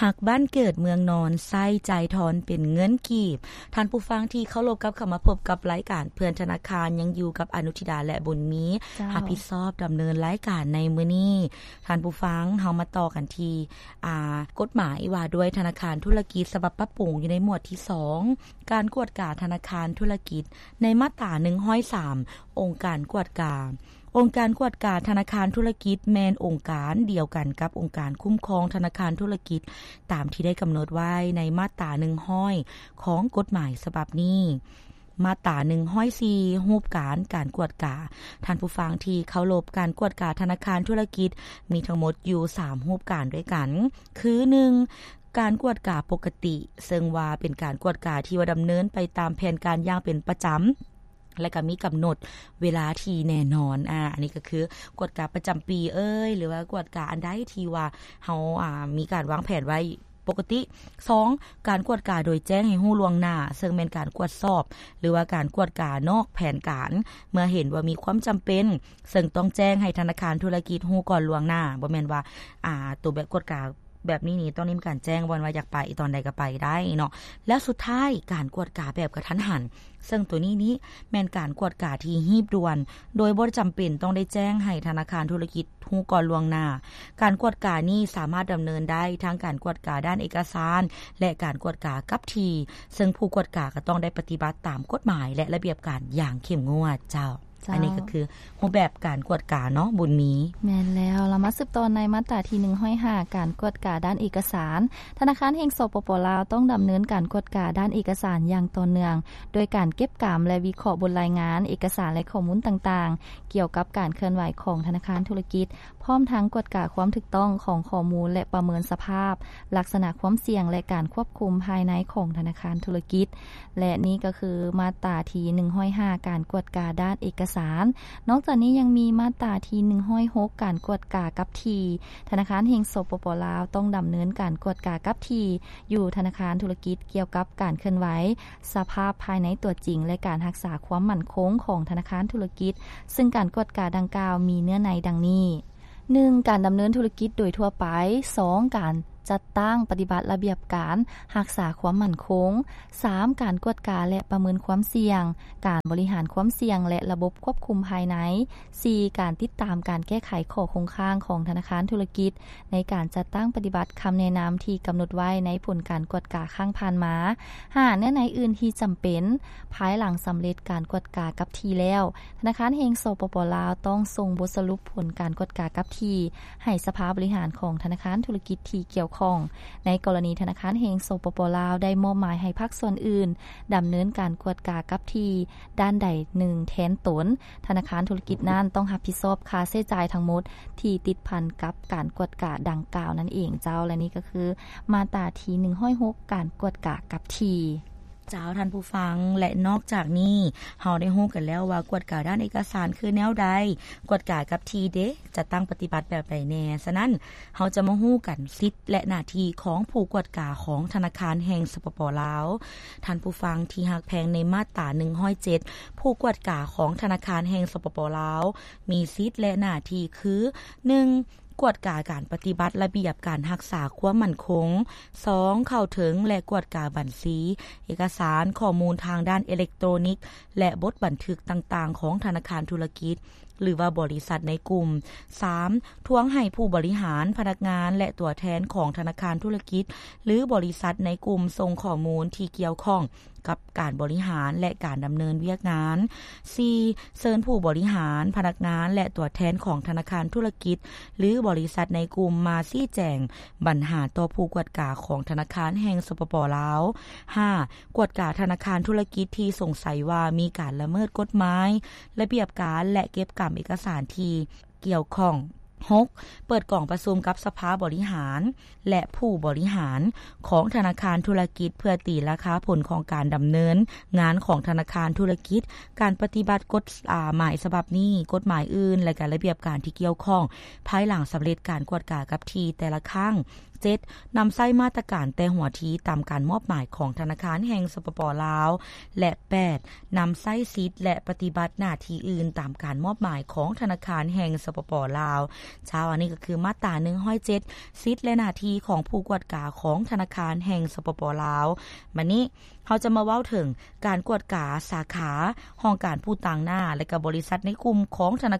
ຮັກບ້ານເກີດເມືອງນອນ ໃຊ້ຈ່າຍທອນເປັນເງິນກີບ. ທ່ານຜູ້ຟັງທີ່ເຄົາລົບ, ກັບເຂົ້າມາພົບກັບລາຍການເພື່ອນທະນາຄານ, ຍັງຢູ່ກັບອະນຸທິດາ ແລະ ບຸນມີ ເຈົ້າ ຮັບຜິດຊອບດຳເນີນລາຍການໃນມື້ນີ້. ທ່ານຜູ້ຟັງ, ເຮົາມາຕໍ່ກັນທີ່ ອາ ກົດໝາຍວ່າດ້ວຍທະນາຄານທຸລະກິດ ສະບັບປັບປຸງ ຢູ່ໃນໝວດທີສອງ ການກວດກາທະນາຄານທຸລະກິດ ໃນມາດຕາໜຶ່ງຮ້ອຍສາມ ອົງການກວດກາ. ອົງການກວດກາທະນາຄານທຸລະກິດ ແມ່ນອົງການດຽວກັນກັບອົງການຄຸ້ມຄອງທະນາຄານທຸລະກິດ ຕາມທີ່ໄດ້ກຳນົດໄວ້ໃນມາດຕາໜຶ່ງຮ້ອຍ ຂອງກົດໝາຍສະບັບນີ້. ມາດຕາໜຶ່ງຮ້ອຍສີ່ ຮູບການການກວດກາ. ທ່ານຜູ້ຟັງທີ່ເຄົາລົບ, ການກວດກາທະນາຄານທຸລະກິດ ມີທັງໝົດຢູ່ສາມຮູບການດ້ວຍກັນ ຄື ໜຶ່ງ ການກວດກາປົກກະຕິ, ເຊິ່ງວ່າເປັນການກວດກາທີ່ວ່າດຳເນີນໄປຕາມແຜນການຢ່າງເປັນປະຈຳ ແລະ ກໍມີກຳນົດເວລາທີ່ແນ່ນອນ. ອາ ອັນນີ້ກໍຄືກວດກາປະຈຳປີເອີຍ ຫຼືວ່າກວດກາອັນໃດທີ່ວ່າເຮົາ ອາ ມີການວາງແຜນໄວ້ປົກກະຕິ. ສອງ ການກວດກາໂດຍແຈ້ງໃຫ້ຮູ້ລ່ວງໜ້າ, ເຊິ່ງແມ່ນການກວດສອບ ຫຼືວ່າການກວດການອກແຜນການ ເມື່ອເຫັນວ່າມີຄວາມຈຳເປັນ ເຊິ່ງຕ້ອງແຈ້ງໃຫ້ທະນາຄານທຸລະກິດຮູ້ກ່ອນລ່ວງໜ້າ. ບໍ່ແມ່ນວ່າ ອາ ໂຕແບບກວດກາ ແບບນີ້ນີ້ຕ້ອງໄດ້ມີການແຈ້ງກ່ອນວ່າຢາກໄປຕອນໃດກໍໄປໄດ້ເນາະ. ແລ້ວສຸດທ້າຍ ການກວດກາແບບກະທັນຫັນ, ເຊິ່ງໂຕນີ້ນີ້ແມ່ນການກວດກາທີ່ຮີບດ່ວນ ໂດຍບໍ່ຈຳເປັນຕ້ອງໄດ້ແຈ້ງໃຫ້ທະນາຄານທຸລະກິດຮູ້ກ່ອນລ່ວງໜ້າ. ການກວດການີ້ສາມາດດຳເນີນໄດ້ທັງການກວດກາດ້ານເອກະສານ ແລະ ການກວດກາກັບທີ່, ເຊິ່ງຜູ້ກວດກາກໍຕ້ອງໄດ້ປະຕິບັດຕາມກົດໝາຍ ແລະ ລະບຽບການຢ່າງເຂັ້ມງວດ. ເຈົ້າ. ເຈົ້າ. ອັນນີ້ກໍຄືຮູບແບບການກວດກາເນາະ ບຸນມີ. ແມ່ນແລ້ວ, ລະມາສືບຕໍ່ໃນມາດຕາທີໜຶ່ງຮ້ອຍຫ້າ ການກວດກາດ້ານເອກະສານ. ທະນາຄານແຫ່ງ ສປປ ລາວ ຕ້ອງດຳເນີນການກວດກາດ້ານເອກະສານຢ່າງຕໍ່ເນື່ອງ ໂດຍການເກັບກຳ ແລະ ວິເຄາະບົດລາຍງານ, ເອກະສານ ແລະ ຂໍ້ມູນຕ່າງໆ ກ່ຽວກັບການເຄື່ອນໄຫວຂອງທະນາຄານທຸລະກິດ, ພ້ອມທັງກວດກາຄວາມຖືກຕ້ອງຂອງຂໍ້ມູນ ແລະ ປະເມີນສະພາບລັກສະນະຄວາມສ່ຽງ ແລະ ການຄວບຄຸມພາຍໃນຂອງທະນາຄານທຸລະກິດ. ແລະ ນີ້ກໍຄືມາດຕາທີໜຶ່ງຮ້ອຍຫ້າ ການກວດກາດ້ານເອກະສານ. ນອກຈາກນີ້ຍັງມີມາດຕາທີໜຶ່ງຮ້ອຍຫົກ ການກວດກາກັບທີ່. ທະນາຄານແຫ່ງ ສປປ ລາວ ຕ້ອງດຳເນີນການກວດກາກັບທີ່ຢູ່ທະນາຄານທຸລະກິດ ກ່ຽວກັບການເຄື່ອນໄຫວ ສະພາບພາຍໃນຕົວຈິງ ແລະ ການຮັກສາຄວາມໝັ້ນຄົງຂອງທະນາຄານທຸລະກິດ, ເຊິ່ງການກວດກາດັ່ງກ່າວມີເນື້ອໃນດັ່ງນີ້. ໜຶ່ງ ການດຳເນີນທຸລະກິດໂດຍທົ່ວໄປ. ສອງ ການຈັດຕັ້ງປະຕິບັດລະບຽບການຮັກສາຄວາມໝັ້ນຄົງ. ສາມ ການກວດກາ ແລະ ປະເມີນຄວາມສ່ຽງ, ການບໍລິຫານຄວາມສ່ຽງ ແລະ ລະບົບຄວບຄຸມພາຍໃນ. ສີ່ ການຕິດຕາມການແກ້ໄຂຂໍ້ຄົງຄ້າງຂອງທະນາຄານທຸລະກິດ ໃນການຈັດຕັ້ງປະຕິບັດຄຳແນະນຳທີ່ກຳນົດໄວ້ໃນຜົນການກວດກາຄັ້ງຜ່ານມາ. ຫ້າ ເນື້ອໃນອື່ນທີ່ຈຳເປັນ. ພາຍຫຼັງສຳເລັດການກວດກາກັບທີ່ແລ້ວ, ທະນາຄານແຫ່ງ ສປປ ລາວ ຕ້ອງສົ່ງບົດສະຫຼຸບຜົນການກວດກາກັບທີ່ໃຫ້ສະພາບໍລິຫານຂອງທະນາຄານທຸລະກິດທີ່ກ່ຽວຂ້ອງ. ໃນກໍລະນີທະນາຄານແຫ່ງ ສປປ ລາວ ໄດ້ມອບໝາຍໃຫ້ພາກສ່ວນອື່ນດຳເນີນການກວດກາກັບທີ່ດ້ານໃດໜຶ່ງແທນຕົນ, ທະນາຄານທຸລະກິດນັ້ນຕ້ອງຮັບຜິດຊອບຄ່າໃຊ້ຈ່າຍທັງໝົດທີ່ຕິດພັນກັບການກວດກາດັ່ງກ່າວນັ້ນເອງເຈົ້າ. ແລະ ນີ້ກໍຄືມາດຕາທີໜຶ່ງຮ້ອຍຫົກ ການກວດກາກັບທີ່. ເຈົ້າ ທ່ານຜູ້ຟັງ, ແລະ ນອກຈາກນີ້ ເຮົາໄດ້ຮູ້ກັນແລ້ວວ່າກວດກາດ້ານເອກະສານຄືແນວໃດ, ກວດກາກັບທີ່ເດ ຈັດຕັ້ງປະຕິບັດແບບໃດແດ່. ສະນັ້ນ ເຮົາຈະມາຮູ້ກັນສິດ ແລະ ໜ້າທີ່ຂອງຜູ້ກວດກາຂອງທະນາຄານແຫ່ງ ສປປ ລາວ. ທ່ານຜູ້ຟັງທີ່ຮັກແພງ, ໃນມາດຕາໜຶ່ງຮ້ອຍເຈັດ ຜູ້ກວດກາຂອງທະນາຄານແຫ່ງ ສປປ ລາວ ມີສິດ ແລະ ໜ້າທີ່ຄື ໜຶ່ງ ກວດກາການປະຕິບັດລະບຽບການຮັກສາຄວາມໝັ້ນຄົງ. ສອງ ເຂົ້າເຖິງ ແລະ ກວດກາບັນຊີ, ເອກະສານ, ຂໍ້ມູນທາງດ້ານເອເລັກໂຕຣນິກ ແລະ ບົດບັນທຶກຕ່າງໆຂອງທະນາຄານທຸລະກິດ ຫຼືວ່າບໍລິສັດໃນກຸ່ມ. ສາມ ທວງໃຫ້ຜູ້ບໍລິຫານ, ພະນັກງານ ແລະ ຕົວແທນຂອງທະນາຄານທຸລະກິດ ຫຼື ບໍລິສັດໃນກຸ່ມສົ່ງຂໍ້ມູນທີ່ກ່ຽວຂ້ອງ ກັບການບໍລິຫານ ແລະ ການດຳເນີນວຽກງານ. ສີ່ ເຊີນຜູ້ບໍລິຫານ, ພະນັກງານ ແລະ ຕົວແທນຂອງທະນາຄານທຸລະກິດ ຫຼື ບໍລິສັດໃນກຸ່ມມາຊີ້ແຈງບັນຫາຕໍ່ຜູ້ກວດກາຂອງທະນາຄານແຫ່ງ ສປປ ລາວ. ຫ້າ ກວດກາທະນາຄານທຸລະກິດທີ່ສົງໄສວ່າມີການລະເມີດກົດໝາຍ, ລະບຽບການ ແລະ ເກັບກຳເອກະສານທີ່ກ່ຽວຂ້ອງ. ຫົກ ເປີດກອງປະຊຸມກັບສະພາບໍລິຫານ ແລະ ຜູ້ບໍລິຫານຂອງທະນາຄານທຸລະກິດ ເພື່ອຕີລາຄາຜົນຂອງການດຳເນີນງານຂອງທະນາຄານທຸລະກິດ, ການປະຕິບັດກົດ ອາ ໝາຍສະບັບນີ້, ກົດໝາຍອື່ນ ແລະ ກະລະບຽບການທີ່ກ່ຽວຂ້ອງ ພາຍຫຼັງສຳເລັດການກວດກາກັບທີ່ແຕ່ລະຄັ້ງ. ເຈັດ ນຳໃຊ້ມາດຕະການແຕ່ຫົວທີຕາມການມອບໝາຍຂອງທະນາຄານແຫ່ງ ສປປ ລາວ ແລະ ແປດ ນຳໃຊ້ສິດ ແລະ ປະຕິບັດໜ້າທີ່ອື່ນຕາມການມອບໝາຍຂອງທະນາຄານແຫ່ງ ສປປ ລາວ. ເຈົ້າ ອັນນີ້ກໍຄືມາດຕາ ໜຶ່ງຮ້ອຍເຈັດ ສິດ ແລະ ໜ້າທີ່ຂອງຜູ້ກວດກາຂອງທະນາຄານແຫ່ງ ສປປ ລາວ. ບາດນີ້ເຮົາຈະມາເວົ້າເຖິງການກວດກາສາຂາ, ຫ້ອງການຜູ້ຕາງໜ້າ ແລະ ກໍບໍລິສັດໃນກຸ່ມຂອງທະນາ